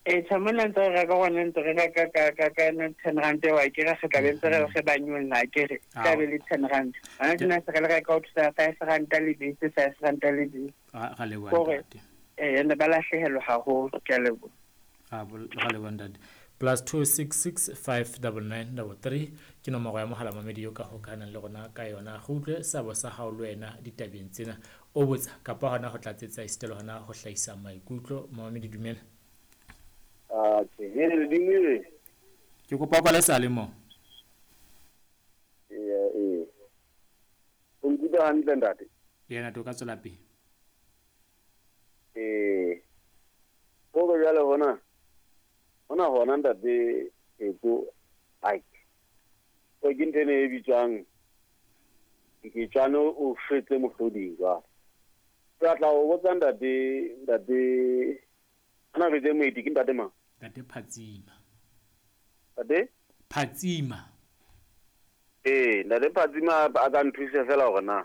Ee, tjha mona ntse re reka gona ntse re reka ka yona 10 rand eo akere re tla be ntse re re ba nyolla akere tla be le 10 rand. Hona tjena se re le reka ho thusa 5 ranta lebese, 5 ranta lebese. Ra leboha. Kore ntate. Ee, ene ba lahlehelwa haholo. Ke a leboha. Ra leboha, ntate. +266 599 33 ke nomoro ya mohala mamedi yo ka hokahanang le rona ka yona. Re utlwe seabo sa hao le wena ditabeng tsena, o botsa kapa hona ho tlatsetsa, esita le hona ho hlahisa maikutlo. Mamamedi, dumela. Atjhe, hele ledimo. Ke kopa o kwale sale mo. Ee, ee. O nkutlwa hantle, ntate? Yena to ka tswela pele. Ee. Hore jwale hona ntate Eko, ai. O ke ntho ene e bitswang nketjwane o shwetse mohloding jwale. Ke batla ho botsa ntate ana re tse moeti ke ntate mang? Ntate Phatsima. Ntate? Phatsima. Ee, ntate Phatsima a ka nthusa fela hore na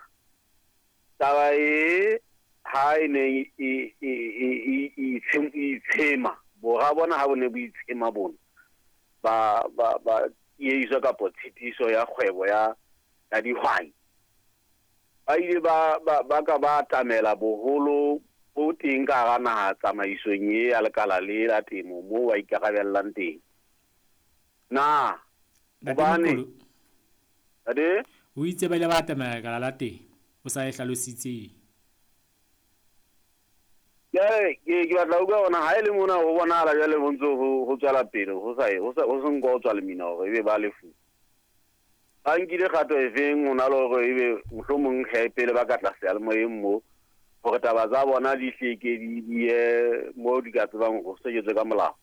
taba e ha e ne e itshema bora bona ha bo ne bo itshema bona ba tiehiso kapa tshitiso ya kgwebo ya dihwai, ba ile ba ka ba atamela boholo bo teng ka hara naha tsamaisong e ya lekala le la temo moo ba ikarabellang teng na? Ntate. Hobane Mokolo. Ntate. O itse ba ile ba atamela lekala la teng, o sa e hlalositseng. Jwale ke batla ho utlwa hona ha e le mona ho bonahala jwale ho ntso ho tswela pele ho sa ho sa ho se nko ho tswa lemina hore ebe ba lefu ba nkile kgato efeng ho na le hore ebe mohlomong he pele ba ka tla seyalemoyeng mo hore taba tsa bona di hleke di ye mo di ka tsebang ho seketswe ka molao.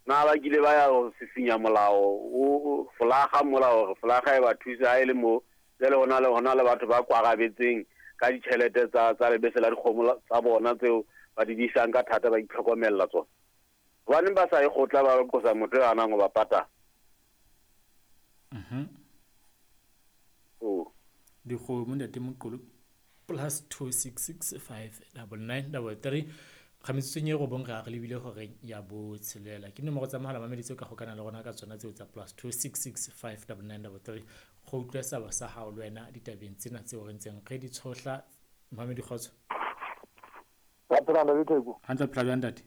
Na ba kile ba ya ho sisinya molao o folaga mola hore folaga e ba thuse ha e le mo jwale hona le batho ba kwarabetseng ka ditjhelete tsa lebese la dikgomo tsa bona tseo ba di disang ka thata, ba itlhokomella tsona? Hobaneng ba sa e kgotla ba qosa motho ya hanang ho ba patala? Oh. Dikgomo, ntate Moqolo. +266 599 33 ga metsotsong e 9 re a re lebile horeng ya 6. Ke nomoro tsa mohala mamedi tseo ka gokana le rona ka tsona tseo tsa +266 599 33 go utlwe seabo sa hao le wena ditabeng tsena tseo re ntseng re di tshohla. Mamedi, kgotso. Ra phela, ntate Theko. Hantle, phela jwang, ntate?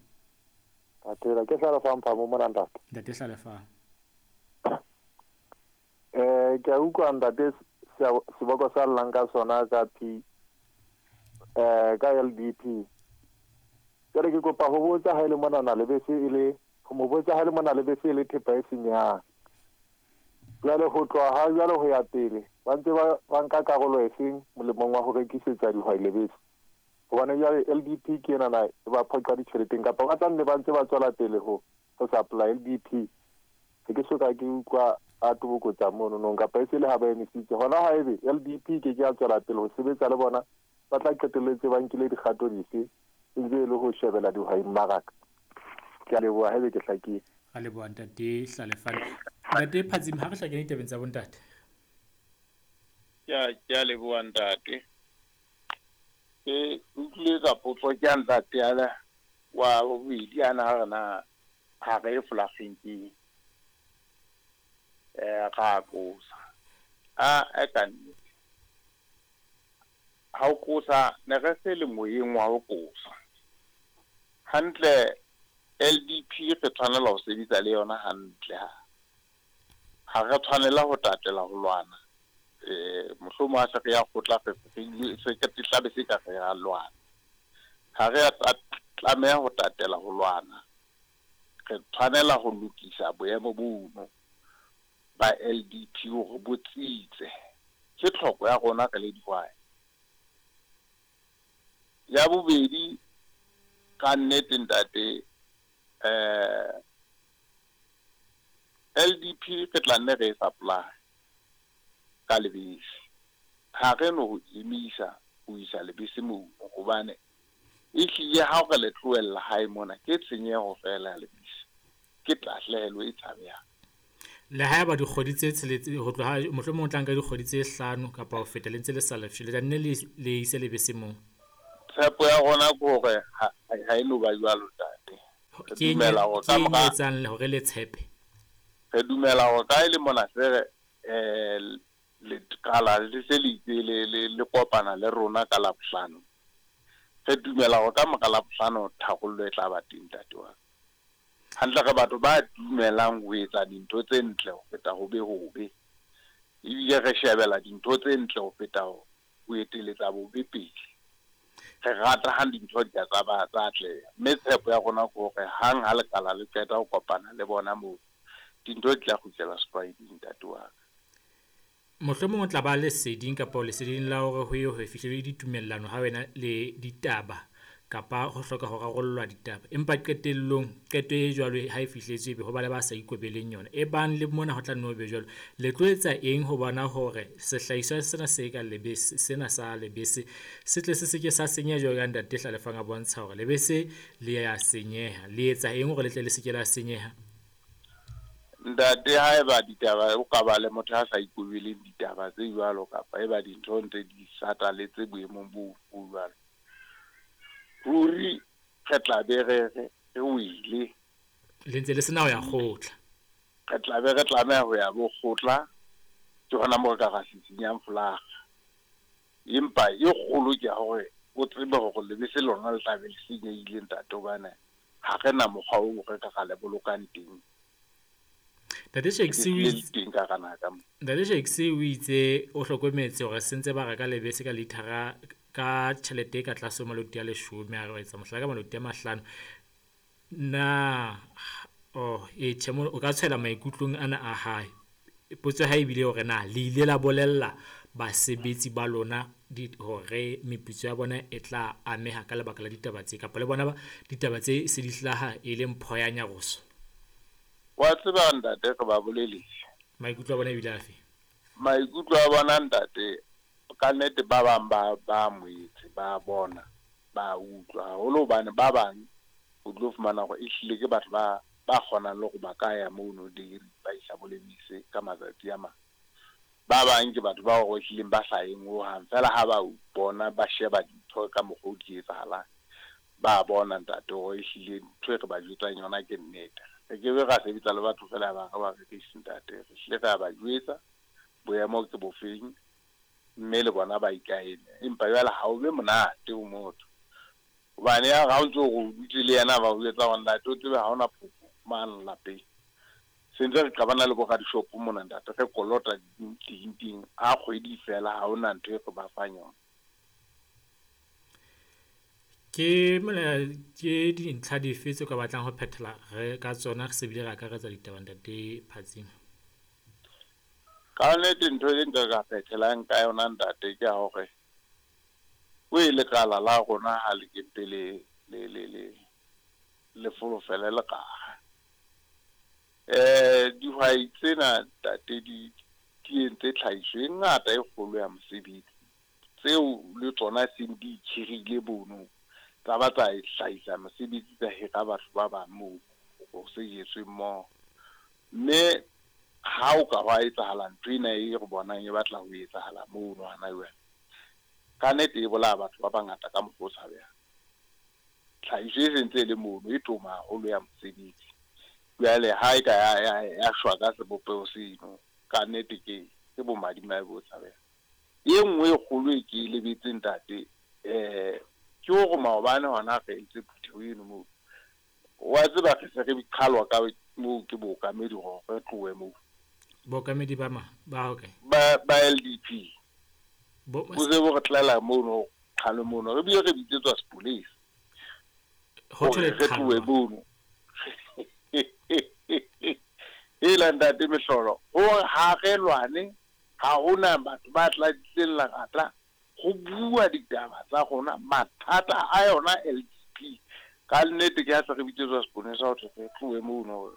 Ra phela, ke Hlalefang Phamo mona, ntate. Ntate Hlalefang. Ke a utlwa, ntate, seboko sa llang ka sona ka P ka LDP. Jwale ke kopa ho botsa ha e le mona na lebese e le ho mo botsa ha e le mona lebese e le thepa e senyang. Jwale ho tloha ha jwale ho ya pele ba ntse ba nka karolo efeng molemong wa ho rekisetsa dihwai lebese? Hobane jwale LDP ke ena na e ba phoqa ditjheleteng kapa ba tla nne ba ntse ba tswela pele ho supply LDP. Ha ke soka ke utlwa a tobokotsa mono nong kapa e se le ha ba emisitse hona. Ha ebe LDP ke ya tswela pele ho sebetsa le bona, ba tla qetelletse ba nkile dikgato dife e ntse e le ho shebela dihwai mmaraka? Ke a leboha haebe ke hlakile. Ra leboha, ntate Hlalefane. Ntate Phatsima, ha re hlakene ditabeng tsa bontate. Ke a leboha, ntate. Ke utlwile ka potso ke ya ntate ala wa bobedi ana re na ha re e folageng ke ra qosa a e ka nnete ha o qosa ne re se le moyeng wa ho qosa hantle. LDP re tshwanela ho sebetsa le yona hantle, ha re tshwanela ho tatela ho lwana. Mohlomong ha se re ya kgotla re se ke tlabe se ka re ya lwana. Ha re ya tlameha ho tatela ho lwana, re tshwanela ho lokisa boemo bono ba LDP hore bo tsitse. Ke tlhoko ya rona re le dihwai. Ya bobedi, ka nnete, ntate, LDP re tla nne re e supply ka lebese. Ha re no ho emisa ho isa lebese moo hobane ehlile ha re le tlohella hae mona ke tshenyeho fela ya lebese, ke tahlehelo e tshabehang. Le ha eba dikgwedi tse 6 ho tloha mohlomong o tla nka dikgwedi tse 5 kapa ho feta le ntse le sa lefshwe, le tla nne le ise lebese moo? Tshepo ya rona ke hore ha e no ba jwalo, ntate. Re Ke dumela hore ke ka mora etsang hore le tshepe? Re dumela hore ka e le mona se re lekala le se le itse le kopana le rona ka Labohlano. Re dumela hore ka mora Labohlano tharollo e tla ba teng, ntate wa ka. Hantle re batho ba dumelang ho etsa dintho tse ntle ho feta ho be hobe. Ebile re shebela dintho tse ntle ho feta ho eteletsa bobe pele. Re rata ha dintho di ka tsa ba tsa atleha. Mme tshepo ya rona ke hore hang ha lekala le qeta ho kopana le bona moo, dintho di tla kgutlela setlwaeding, ntate wa ka. Mohlomong o tla ba leseding kapa leseding la hore ho ye ho fihlele ditumellano ha wena le ditaba kapa ho hloka ho rarollwa ditaba. Empa qetellong qeto e jwalo ha e fihletswe ebe ho ba le ba sa ikobeleng yona. E bang le mona ho tla nne ho be jwalo. Le tlo etsa eng ho bona hore sehlahiswa sena se ka lebese, sena sa lebese se tle se seke sa senyeha jwalo ka ntate Hlalefang a bontsha hore lebese le ya senyeha. Le etsa eng hore le tle le seke la senyeha? Ntate, haeba ditaba o ka ba le motho a sa ikobeleng ditaba tse jwalo kapa eba dintho ntse di sataletse boemong bo jwalo, ruri re tla be re wele. Le ntse le sena ho ya kgotla. Re tla be re tlameha ho ya bo kgotla, ke hona moo re ka ra sisinyang folaga. Empa e kgolo ke ya hore o tsebe hore lebese lona le tla be le senyehile, ntate, hobane ha re na mokgwa oo re ka ra le bolokang teng. Ntate Shakes o itse o hlokometse hore se ntse ba reka lebese ka lithara ka tjhelete e ka tlase ho maloti a 10, a re etsa mohlala ka maloti a 5. Na tjhe, o ka tshwela maikutlong ana a hae. Potso ha ebile hore na le ile la bolella basebetsi ba lona hore meputso ya bona e tla ameha ka lebaka la ditaba tse, kapa le bona ba ditaba tse se di hlaha e le mpho ya nyaroso? Wa tseba ntate, re ba boleletse. Maikutlo a bona ebile afe? Maikutlo a bona ntate, ka nnete ba bang ba moetse, ba bona, ba utlwa haholo, hobane ba bang o tlo fumana hore ehlile ke batho ba kgonang le hore ba ka ya mono dairy ba isa bo lebese ka matsatsi a mang. Ba bang ke batho ba hore ehlileng ba sa yeng hohang, feela ha ba bona ba sheba dintho ka mokgwa o di etsahalang, ba bona ntate hore ehlile ntho e re ba jwetsang yona ke nnete. Re ke be ra sebetsa le batho feela ba re ba rekise ntate, re hlile re a ba jwetsa boemo ke bofeng, mme le bona ba ikaele. Empa jwale ha o be monate ho motho, hobane ya ha o ntso o dutse le yena ba o jwetsa hore ntate o tsebe ha hona phofo mane lapeng. Se ntse re qabana le bo radishopo mona ntate, re kolota teng a kgwedi fela, ha hona ntho e re ba fang yona. Ke ke dintlha dife tse ka batlang ho phethela re ka tsona re se bile re akaretsa ditaba ntate Phatsima? Ka nnete ntho e nka ka phethelang ka yona ntate ke ya hore o e lekala la rona ha le ke pele le folofele lekala. Dihwai tsena ntate di entse tlhahiso e ngata e kgolo ya mosebetsi, tseo le tsona seng di itjhirile bono, tsa ba tsa hlahisa mosebetsi, tsa hira batho ba bang moo ho sejetswe mmoho. Mme ha o ka hwa etsahala ntho ena e re bonang e batla ho etsahala mono hana jwale, ka nnete e bolaya batho ba bangata ka mokgwa o tshabehang. Tlhahiso e sentse e le mono e toma haholo ya mosebetsi. Jwale ha e ka ya shwa ka sebopeho seno, ka nnete ke bomadimabe bo tshabehang. E nngwe e kgolo e ke e lebetseng ntate, ke hore maobane hona re entse phutheho eno moo. Wa tseba re se re qhalwa ka moo ke bookamedi hore re tlohe moo. Bookamedi ba ma? Ba hokae? Ba LDP. Bo se bo re tlela mono, qhalwe mono. Re bile re bitsetswa sepolesa. Ho thwe re tlohe mono. E la ntate mehlolo, hore ha re lwane, ha hona batho ba tla tlileng lerata ho bua ditaba tsa rona, mathata a yona LDP. Ka nnete ke ha se re bitsetswa seponesa ho thwe re tlohe mono,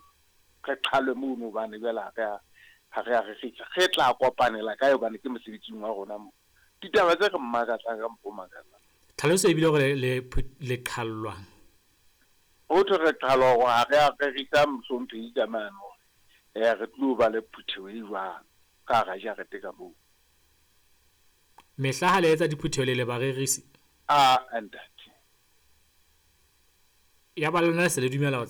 re qhalwe mono, hobane jwale ha re a re kgitla. Re tla kopanela kae hobane ke mosebetsing wa rona moo. Ditaba tse re mmakatsang ka mokgwa o makatsang. Tlhaloso ebile hore le qhallwang. Ho thwe re qhalwa hore ha re a rerisa mohlomphehi ka mane hore re tlo ba le phutheho e jwang ka hara jarete ka moo. Mehla ha le etsa diphutheho le le barerisi? A ntate. Ya ba lona se le dumela ho